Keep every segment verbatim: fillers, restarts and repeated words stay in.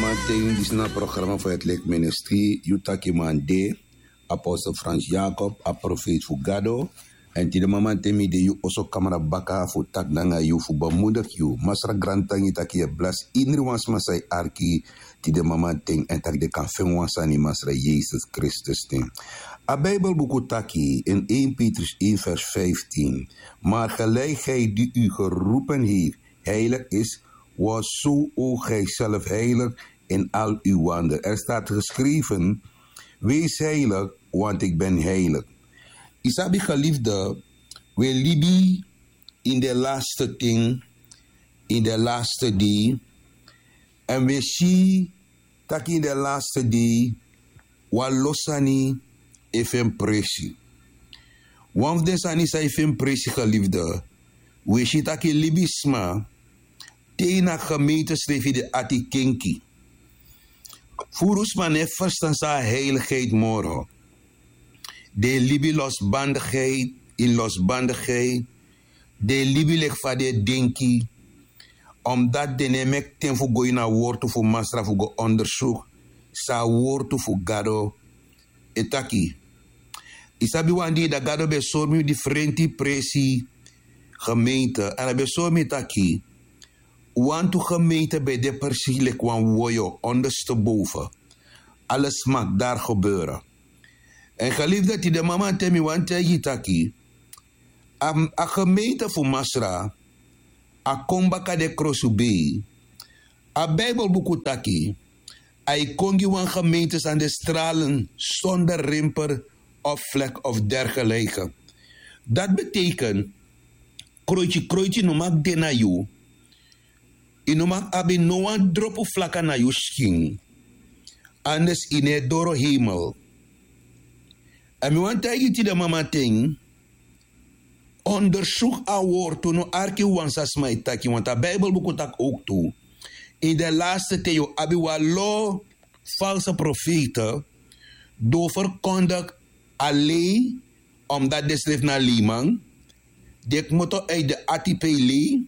Ten disi na a programa fu etlik ministri yu taki man de, apostel Frans Jacob, a profeet fu Gado. Èn tide mamanten mi de yu oso kamra baka fu taki nanga yu fu bemoedig yu. Masra grantangi taki yu e blasi indri wan sma san e arki tide mamanten èn taki den kan feni wan sani masra Yesus Kristus ten. A Bijbelbuku taki in één Petrus één vers vijftien: Maar gelijk hij die u geroepen heeft heilig is, wordt zo ook gijzelf heilig in al uw wandel. Er staat geschreven: Wees heilig, want ik ben heilig. Isabi geliefde, we libi in de laatste ting, in de laatste dei. En we si taki in de laatste dei wan lo sani e feni presi. Wan fu den sani san e feni presi geliefde, we si taki libisma te ini a gemeente srefi de ati kenki. Furu sma no e ferstan san a heiligheid moro. Den e libi losbandigheid ini losbandigheid. Den e libi leki fa den e denki. Omdati den no e meki ten fu go ini a wortu fu Masra fu go ondersuku san a wortu fu Gado e taki. Yu sabi wan dei dati Gado ben sori mi yu difrenti presi gemeente èn a ben sori mi taki wantu gemeente ben de presi leki wan woyo onderste boven. Alles mag daar gebeuren. Èn geliefde, tide mamanten mi wani taigi yu taki a gemeente fu Masra a kon baka den krosubei. A Bijbelbuku taki a e kon gi wan gemeente san de stralen sonder rimper of vlek of dergelijke. Dati beteken kroiti kroiti no mag de na yu. Yu no mag abi no wan dropu flaka na yu skin. Anders yu no e doro hemel. Èn mi wani taigi yu tide mamanten, ondersuku a wortu, no arki wan san sma e taki want a Bijbelbuku taki owktu. Ini den laatste ten yu o abi wan lo false profeite di o ferkondigi a lei, omdati den srefi na leiman. Den kmoto uit den ati pe yu lei.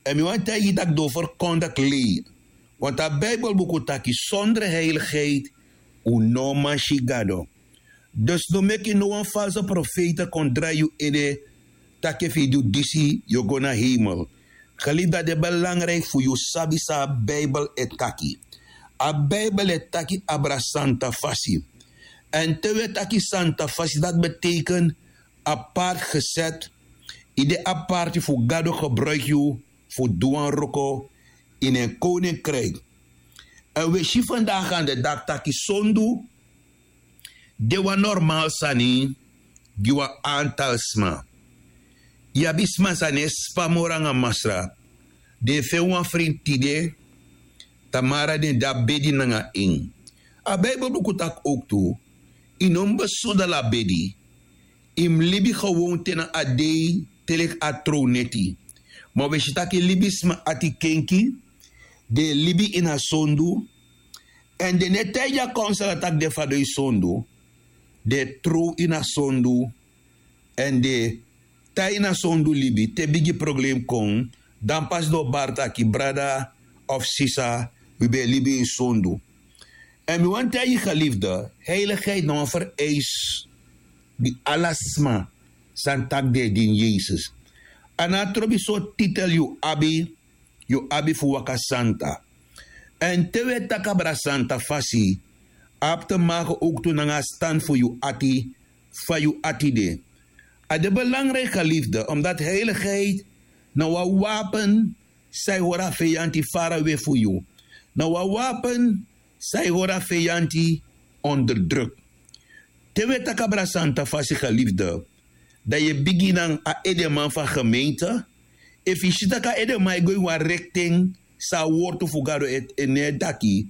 Èn mi wani taigi yu tak' den o ferkondigi lei. Want a Bijbelbuku taki sonder heiligheid un no man si Gado. Dus no meki no wan false profeite kon drai yu ede, taki efu yu du disi yu o go na hemel. Geliefde, a de belangrijk fu yu sabi san a Bijbel e taki. A Bijbel e taki abra santa fasi. Èn te wi e taki santa fasi dati beteken apart geset. Yu de aparti fu Gado gebruiki yu fu du wan wroko ini en koninkrijk. Èn wi e si vandaag an de daki taki sondu de wan normaal sani gi wan antal sma. Yu abi sma san no e span moro nanga Masra. Den e feni wan frinti tide, tamara den de a bedi nanga en. A Bijbelbuku taki owktu yu no mus besudel a bedi. Yu mus libi gewon te na a dei te leki a trow neti. Ma wi e si tak' yu libisma ati kenki. Den e libi ini a sondu. Èn den no e taigi a konsel a tak' den fadon e sondu. Den e trow ini a sondu. Èn den e tan ini a sondu libi te bigi problem kon. Dan pasi den o bari taki brada of sisa, wi ben e libi ini sondu. Èn mi wani taigi yu geliefde, heiligheid na wan vereis gi ala sma san taki den e dini Yesus. A no a trobi sortu titel yu abi, yu abi fu waka santa. Èn te wi e taki abra santa fasi, a abi te make owktu nanga a stand fu yu ati, fa yu ati de. A de belangrijk geliefde, omdati heiligheid na wan wapen san e hori a feyanti farawe fu yu. Na wan wapen san e hori a feyanti onderdruk. Te wi e taki abra santa fasi geliefde, dan yu e bigin nanga a edeman fu a gemeente. Efu yu si tak' a edeman e go ini wan rekten san a wortu fu Gado e no e taki,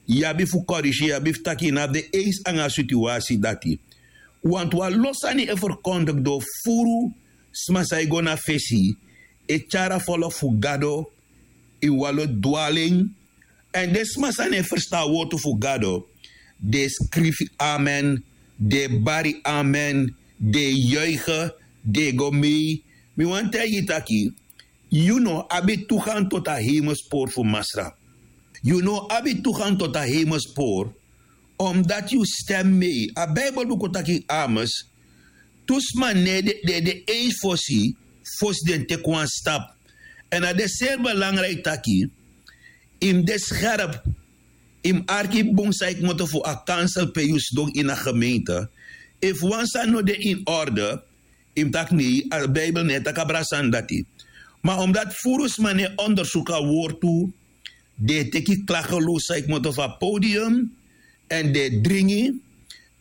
yu abi fu korisi, yu abi fu taki yu no abi den eisi nanga a situasi dati. Want wan lo sani e ferkondigi doro furu sma san e go na fesi, e tyari a folku fu Gado ini wan lo dwaling. Èn den sma san no e ferstan a wortu fu Gado, den e skrifi amen, den e bari amen, den e yuige, den e go mei. Mi wani taigi yu taki yu no abi tu gan toti a hemelspoort fu Masra. Yu no abi tu ganto ta heimel spor, omdat yu stem mei a bijbel buku taki ames. Tu sma ne de de de eis fosi fosi den teki wan stap. En a de seri belangriki taki yu mus de scherp, yu mus arki bun san yu kmoto fu a kansel pe yu sidon ini a gemeente. Efu wan sani no de ini orde, yu mus taki nei a bijbel no e taki abra sani dati. Ma omdati furu sma no e ondersuku a wortu, den e teki klagelu san yu kmoto fu a podium, èn den e dringi.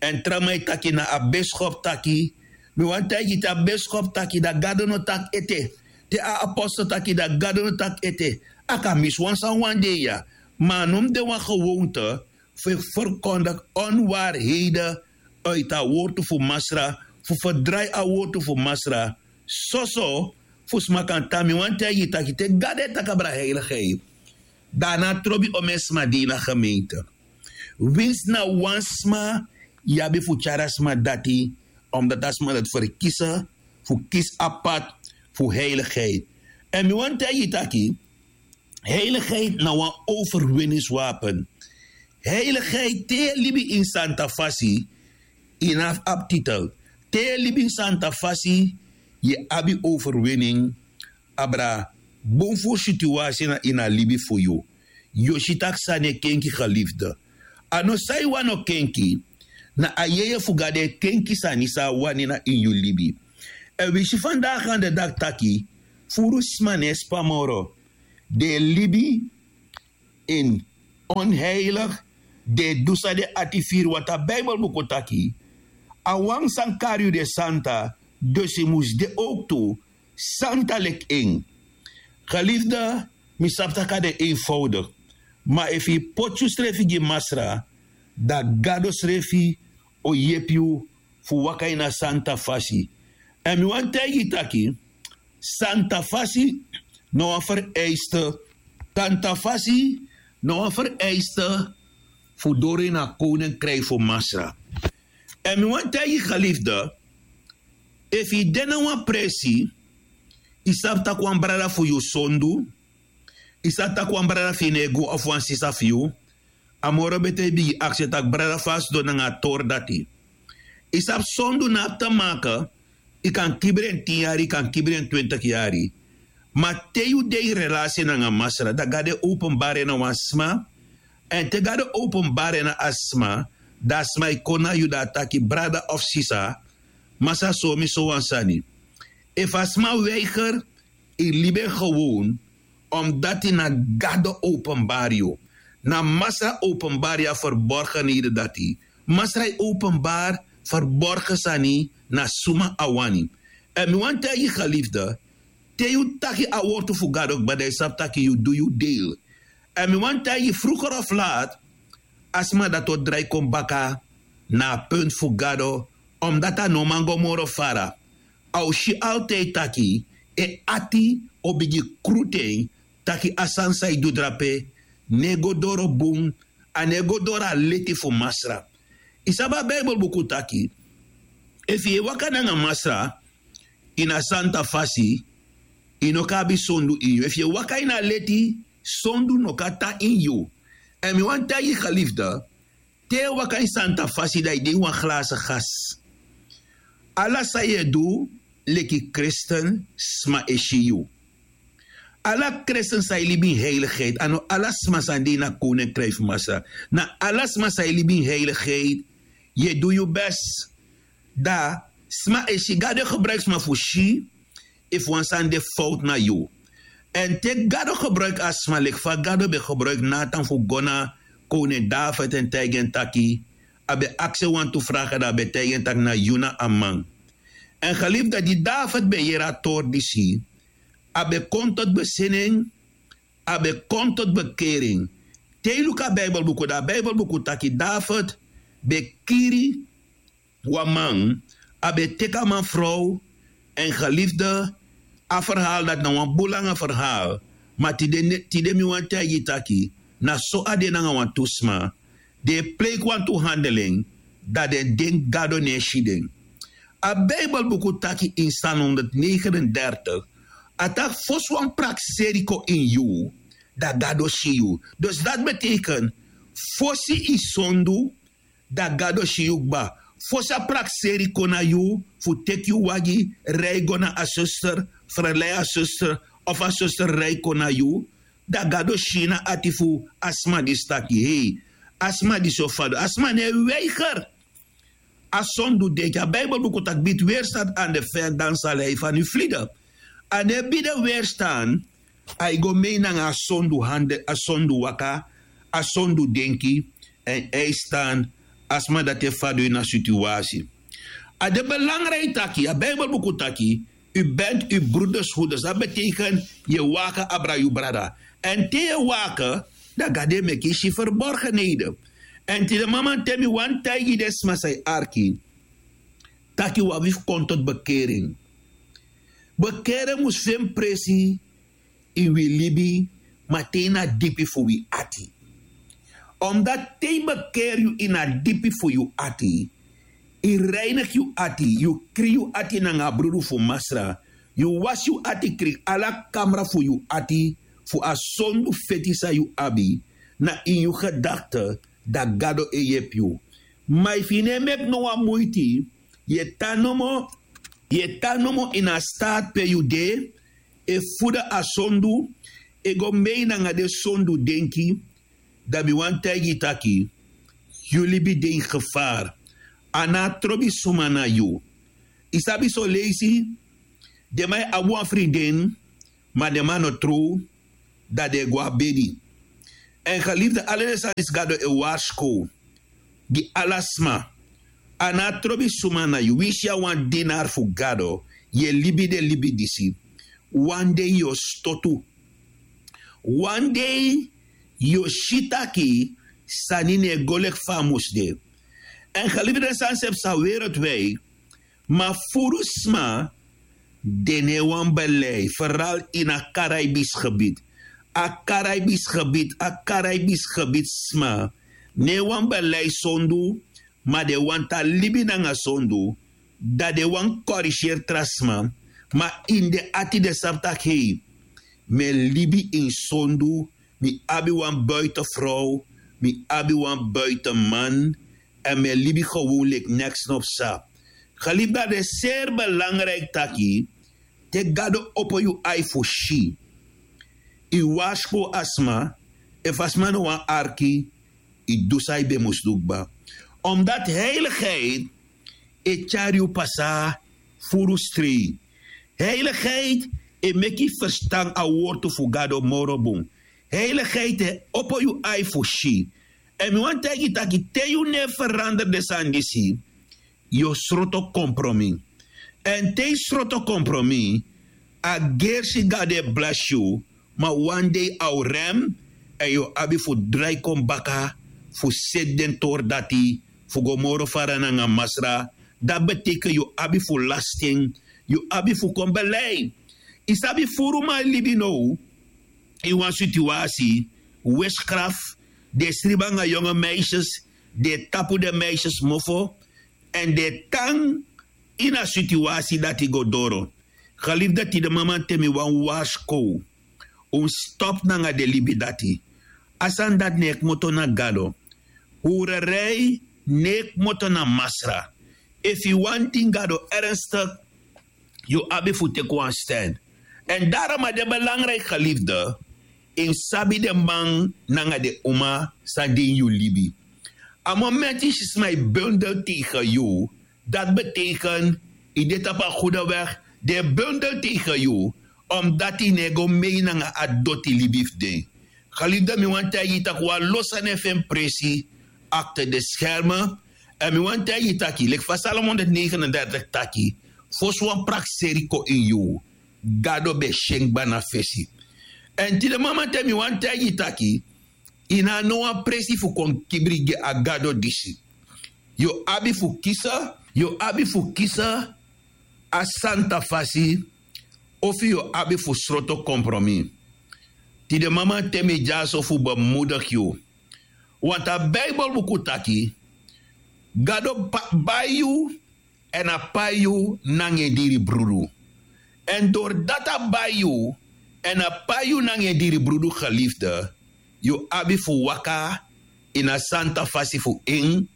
Èn tra man e taki na a beskop taki, mi wani taigi yu te a beskop taki dan gado no taki ete. Te a apostel taki dan gado no taki ete. A kan misi wan sani wan dei ya. Ma a no mus de wan gewoonte fu e ferkondigi onwaarheden uiti a wortu fu masra, fu ferdrai a wortu fu masra. Soso fu sma kan tan mi wani taigi yu taki te gado e taki abra heiligheid, dan a no a trobi omeni sma di ini a gemeente. Winsi na wan sma yu abi fu tyari a sma dati, omdati a sma dati ferkisi fu kisi a pad fu heiligheid. Èn mi wani taigi yu taki heiligheid na wan overwinningswapen. Heiligheid te yu e libi ini santa fasi, yu no abi abi titel. Te yu e libi ini santa fasi, yu e abi overwinning. Abra bun furu situasi na ini a libi fu yu. Yu o si tak' sani e kenki gelifde. A no san yu wani o kenki. Na a yeye fu gado e kenki sani san a wani na ini yu libi. Èn wi si fandaga ande daki taki furu sma no e spa moro. Den e libi ini onheilig. Den e du san den ati firi wanta bibel buku taki a wan san kari yu de santa. Dus yu mus de owktu santa leki en. Gelifde, mi sabi tak' a de eenvoudik. Ma efu yu poti yusrefi gi masra, dan gado srefi o yepi yu fu waka ini a santa fasi. Èn mi wani taigi yu taki santa fasi na wan vereiste. Santa fasi na wan vereiste fu doro ini a koninkriki fu masra. Èn mi wani taigi yu gelifde, efu yu de na wan presi, yu sabi tak' wan brada fu yu sondu, yu sabi tak' wan brada fu yu no e go ofu wan sisa fu yu, a moro bete yu bigin aksi tak' brada fu a sidon nanga a tori dati. Yu sabi sondu no abi te make. Yu kan kibri en tin yari, yu kan kibri en twintik yari. Ma te yu de ini relasi nanga masra dan gado e openbari en na wan sma. Èn te gado openbari en na a sma, dan a sma e kon na yu dan a taki brada of sisa, masra sori mi sowan sani. Efu a sma weiger, yu libi en gewon. Omdati na gado openbari yu. Na masra openbari yu a ferborgenheden dati. Masra e openbari ferborgen sani na suma a wani. Èn mi wani taigi yu gelifde, te yu taki a wortu fu gado kba dan yu sabi tak' yu du yu deil. Èn mi wani taigi yu fruger of lat, a sma dati o drai kon baka na a puntu fu gado. Omdati a no man go moro fara. A o si altide taki en ati o bigin krutu en, taki a sani san yu du drape no e go doro bun. A no e go doro a leti fu masra. Yu sabi a bibel buku taki efu yu e waka nanga masra ini a santa fasi, yu no kan abi sondu ini yu. Efu yu e waka ini a leti, sondu no kan tan ini yu. Èn mi wani taigi yu gelifde, te yu e waka ini santa fasi dan yu de ini wan glasi gas. Ala san yu e du leki kristen, sma e si yu. Ala kristen san e libi ini heiligheid, a no ala sma san de ini a koninkriki fu masra. Na ala sma san e libi ini heiligheid, yu e du yu bes. Dan sma e si, gado e gebruiki sma fu si efu wan sani de fowtu na yu. Èn te gado gebruiki a sma leki fa gado ben gebruiki natan fu go na koning david èn taigi en taki, a ben aksi en wantu fraga dan a ben taigi en taki na yu na a man. Èn gelifde, di david ben yere a tori disi, a ben kon toti besinning. A ben kon toti bekering. Te yu luku a bibel buku dan a bibel buku taki david ben kiri wan man. A ben teki a man frow. Èn gelifde, a ferhaal dati na wan bun langa ferhaal. Ma tide mi wani taigi yu taki na so a de nanga wantu sma. Den e pleiki wantu handel en, dan den denki gado no e si den. A bibel buku taki ini psalm honderdnegenendertig, a taki fosi wan prakseri kon ini yu, dan gado si yu. Dus dati beteken, fosi yu sondu, dan gado si yu kba. Fosi a prakseri kon na yu fu teki yu wagi, rei go na a suster, ferlei a suster, of a suster rei kon na yu, dan gado si na ati fu a sma disi taki, hei, a sma disi o fadon. A sma no e weiger a sondu denki. A Bijbelbuku taki: bid weerstaan aan de vijand, dan zal hij van u vlieden. A no e bidi weerstaan, a e go mei nanga a sondu hande, a sondu waka, a sondu denki, en a e stan, a sma dati e fadon ini a situasi. A de belangrijk taki, a Bijbelbuku taki, u bent uw broeders hoeders. Dat betekent, yu e waka abra yu brada. En te yu e waka, dan Gado e meki yu si verborgenheden. En tide mama, te mi wani taigi den sma san e arki, taki wi abi fu kon tot bekering. Bekering mus feni presi ini wi libi, ma te ini a dipi fu wi ati. Omdat te yu bekeri yu ini a dipi fu yu ati, yu reinigi yu ati, yu krin yu ati nanga a brudu fu Masra, yu wasi yu ati krin, ala kamra fu yu ati, fu a sondu feti san yu abi na ini yu gedakte, dan Gado e yepi yu. Ma efu yu no e meki no wan muiti, yu e tan nomo, yu e tan nomo ini a staat pe yu de, e fudu a sondu, e go mei nanga den sondu denki, dan mi wani taigi yu taki, yu libi de ini gevaar. A no trobi suma na yu. Yu sabi son leisi, den man e abi wan friden, ma den man no trow, dan den e go na bedi. En geliefde, ala den sani disi Gado e warskow gi ala sma. A no trobi suma na yu. Winsi yu na wan dienaar fu Gado, yu e libi den libi disi, wan dei yu o stotu. Wan dei yu o si taki sani no e go leki fa a mus de. En geliefde, den sani srefi sa wereldwijd, ma furu sma, den no e wani belei, vooral ini a Caribisch gebied. A Caribisch gebied, a Caribisch gebied sma no e wani belei sondu, ma den wani tan libi nanga sondu, dan den wani korigeri tra sma, ma ini den ati den sabi taki, hei, mi e libi ini sondu, mi abi wan buitenvrouw, mi abi wan buitenman, en mi e libi gewoon leki neks no psa. Geliefde, a de seri belangrijk taki, te Gado opo yu ai fu si, yu warskow a sma, efu a sma no wani arki, yu du san yu ben mus du kba. Omdat heiligheid e tyari yu pasa furu strei. Heiligheid e meki yu ferstan a wortu fu Gado moro bun. Heiligheid e opo yu ai fu si. En mi wani taigi yu taki, te yu no e feranderi den sani disi, yu o sroto kompromi. En te yu sroto kompromi, a gersi Gado e blesi yu, ma wan dei a o rem, en yu o abi fu drai kon baka, fu seti den tori dati, fu go moro fara nanga Masra. Dati beteken yu o abi fu lasi en, yu o abi fu kon belei. Yu sabi, furu man e libi now ini wan situasi, witchcraft, den e sribi nanga yonge meisjes, den e tapu den meisjes mofo, en den e tan ini a situasi dati go doro. Geliefde, tide mama, te mi wani warskow un, stop nanga den libi dati. A sani dati no e kmoto na Gado. Hurerei no e kmoto na Masra. Efu yu wani dini Gado ernstig, yu abi fu teki wan stand. En daarom a de belangrijk, geliefde, yu sabi den man nanga den uma san de ini yu libi. A moment yu si sma e bundel tegen yu, dati beteken yu de tapu a goede weg. Den e bundel tegen yu, omdat yu no e go mei nanga a doti libi fu den. Geliefde, mi wani taigi yu taki wan lo sani e feni presi achter de schermen. En mi wani taigi yu taki, leki fa Psalm honderdnegenendertig taki, fosi wan prakseri kon ini yu, Gado ben si en kba na fesi. En tide mama, te mi wani taigi yu taki, yu no abi no wan presi fu kon kibri gi a Gado disi. Yu o abi fu kisi, yu o abi fu kisi a santa fasi, ofu yu o abi fu sroto kompromi. Tide mama, te mi dyaso fu bemoedig yu. Want a Bijbelbuku taki, Gado pa-, bai yu, en a pai yu nanga en diri brudu. En doordat a bai yu, Èn a pai yu nanga en diri brudu gelifde, yu abi fu waka ini a santa fasi fu en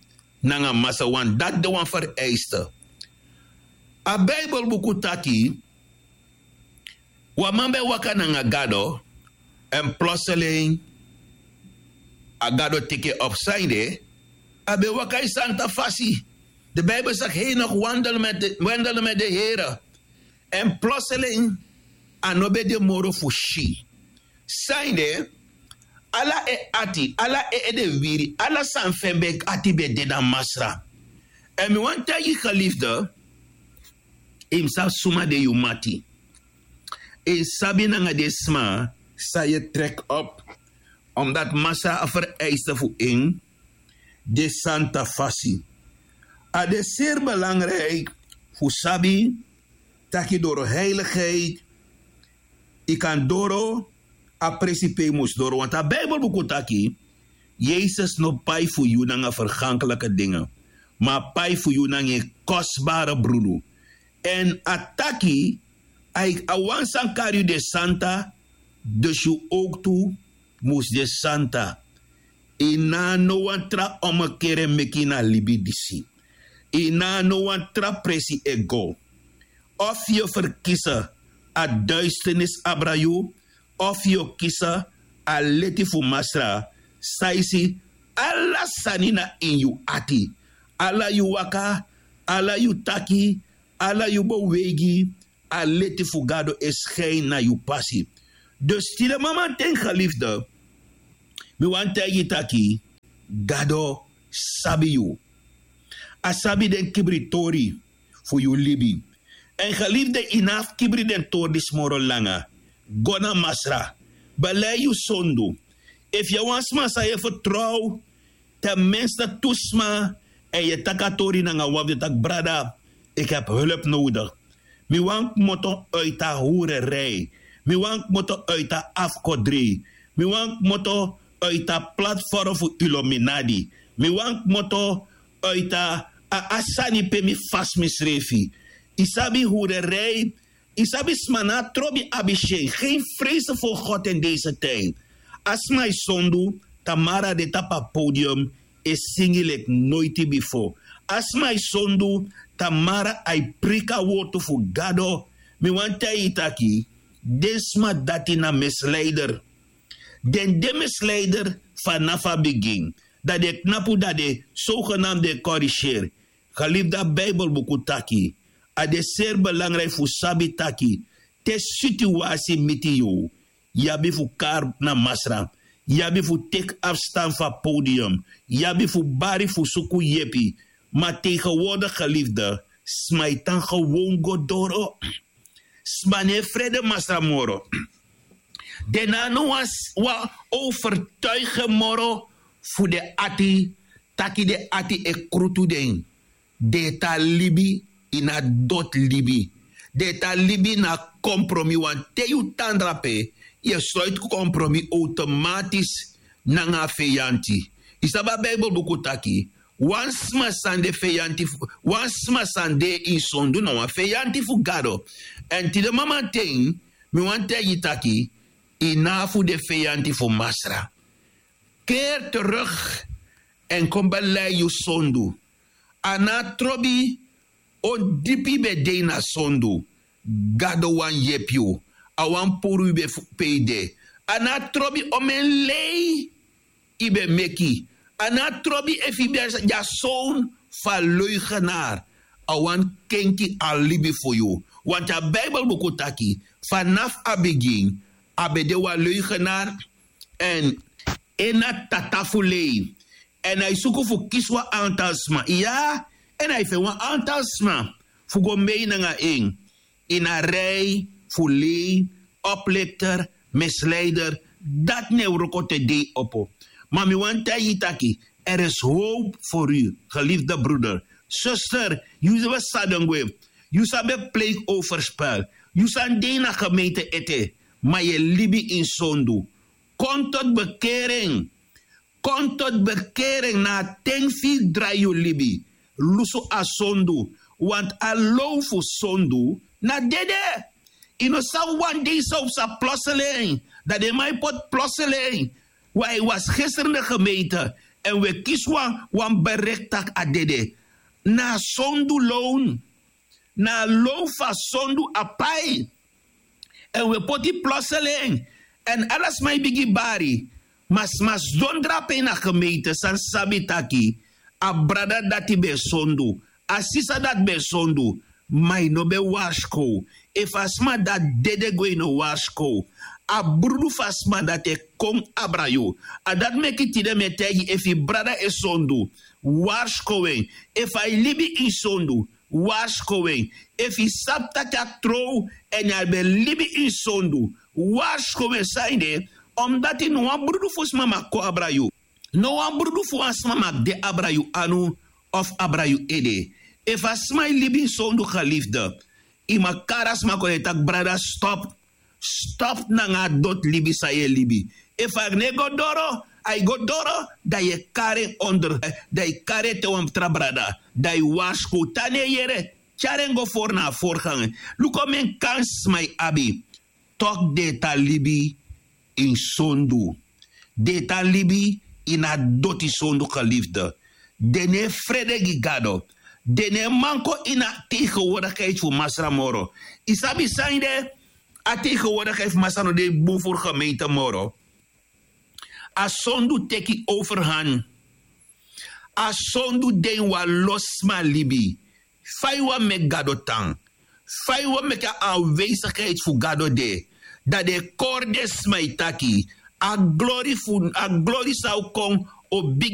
nanga masra, want dati de wan vereiste. A Bijbelbuku taki, wan man ben e waka nanga Gado, èn plotseling a Gado teki en op. Sanede, a ben e waka ini santa fasi. De Bijbel zegt hij nog wandelde met de, wandelde met de Here. Èn plotseling a no ben de moro fu si. Sanede, ala en ati, ala en ede wiri, ala sani fu en ben ati ben de na Masra. Èn mi wani taigi gelifde, yu mus sabi suma de yu mati. Yu mus sabi nanga den sma san yu e trek op, omdat Masra a vereiste fu en de santa fasi. A de seri belangrijk fu sabi taki doro heiligheid yu kan doro a presi pe yu mus doro. Want a Bijbelbuku taki, Yesus no pai fu yu nanga vergankelijke dingen, ma a pai fu yu nanga en kostbare brudu. Èn a taki, a, a wan san kari yu de santa, dus yu ook tu mus de santa. Yu no abi no wan tra omekeren meki na libi disi. Yu no abi no wan tra presi e go. Of yu o verkisi a duisternis abra yu, of yu o kisi a leti fu Masra, san e si ala sani na ini yu ati. Ala yu waka, ala yu taki, ala yu beweigi, a leti fu Gado e skin na yu pasi. Dus tide mamanten gelifde, mi wani taigi yu taki, Gado sabi yu. A sabi den kibritori fu yu libi. Èn gelifde, yu no abi fu kibri den tori disi moro langa. Go na Masra. Belei yu sondu. Efu yu a wan sma san yu e fertrow, ten minste tu sma, èn yu e taki a tori nanga wan fu den taki, brada, ik heb hulp nodig. Mi wani kmoto uit a hoererij. Mi wani kmoto uit a afkodrei. Mi wani kmoto uit a platform fu Illuminati. Mi wani kmoto uit a, a, a sani pe mi fasi misrefi. Yu sabi, hoererij, yu sabi, sma no abi trobi abi si en. Geen vrezen voor God in deze tijd. A sma e sondu, te moro a de tapu a podium e singi leki noiti bifo. A sma e sondu, te moro a e preiki a wortu fu Gado. Mi wani taigi yu taki, den sma dati na misleider. Den de misleider fanafu a bigin. Dan den knapu, dan den zogenaamd e corrigeer. Gelifde, a Bijbelbuku taki, a de seri belangrijk fu sabi taki, te situasi miti yu, yu abi fu kari na Masra. Yu abi fu teki afstand fu a podium. Yu abi fu bari fu suku yepi. Ma tegenwoordig, gelifde, sma e tan gewoon go doro. Sma no e frede Masra moro. Den no abi no wan s-, wan overtuiging moro fu den ati, taki den ati e krutu den. Den e tan libi ini a doti libi. Den e tan libi na kompromi, want te yu tan drape, yu e sluiti kompromi automatisch nanga a feyanti. Yu sabi, a Bijbelbuku taki, wan sma san de feyanti fu, wan sma san de ini sondu na wan feyanti fu Gado. Èn tide mamanten, mi wani taigi yu taki, yu no abi fu de feyanti fu Masra. Keer terug èn kon belei yu sondu. A no abi trobi on dipi yu ben de ini a sondu, Gado wani yepi yu. A wani puru yu ben fu pe yu de. A no abi trobi omeni lei yu ben meki. A no abi trobi efu yu ben de a son fu a leugenaar. A wani kenki a libi fu yu. Want a Bijbelbuku taki, fanafu a bigin a ben de wan leugenaar, èn en na tata fu lei. Èn a e suku fu kisi wan aantal sma. Iya, èn a e feni wan aantal sma fu go mei nanga en ini a rij fu lei, oplichter, misleider. Dati na en wroko te dei opo. Ma mi wani taigi yu taki, er is hoop voor u, geliefde broeder, zuster, yu ben sabi gwe, yu sabi pleeg overspel, yu sani de na gemeente ete, ma yu e libi ini sondu. Kon tot bekering. Kon tot bekering, na a ten fu yu drai yu libi. Lusu a sondu, want a low fu sondu na dede. Yu no sabi wan dei san wi psa ploselen. Dan den man e poti ploselen. Wan e wasi geseri na gemeente. Èn wi e kisi wan wan berekti tak' a dede. Na a sondu lown. Na a lown fu a sondu a pai. Èn wi e poti ploselen. Èn ala sma e bigin bari. Ma sma sidon drape ini a gemeente san sabi taki a brada dati ben e sondu, a sisa dati ben e sondu. Ma yu no ben warskow. Efu a sma dati dede gwe yu no warskow. A brudu fu a sma dati e kon abra yu. A dati meki tide mi e taigi efu yu brada e sondu, warskow en. Efu a e libi ini sondu, warskow en. Efu yu sabi taki a trow èn a ben libi ini sondu, warskow en. San ede? Omdati no wan brudu fu sma mag kon abra yu. No wan brudu fu wan sma mag de abra yu anu of abra yu ede. Efu a sma e libi ini sondu, geliefde, yu mag kari a sma kon e taki brada, stop. Stop nanga a doti libi san yu e libi. Efu a no e go doro, a e go doro, dan yu e kari en onder, dan yu kari en te wan tra brada. Dan yu warskow, te a no e yere, tyari en go fori na a forganga. Luku omeni kansi sma e abi. Toki den e tan libi ini sondu. Den e tan libi ini a doti sondu, geliefde. Den no e frede gi Gado. Den no e man kon ini a tegenwoordigheid fu Masra moro. Yu sabi san ede? A tegenwoordigheid fu Masra no de bun fu gemeente moro. A sondu teki overhand. A sondu de ini wan lo sma libi. Fa yu wani meki Gado tan? Fa yu wani meki a aanwezigheid fu Gado de? Dan den e kori den sma e taki, a glori fu a glori san o kon o bigi.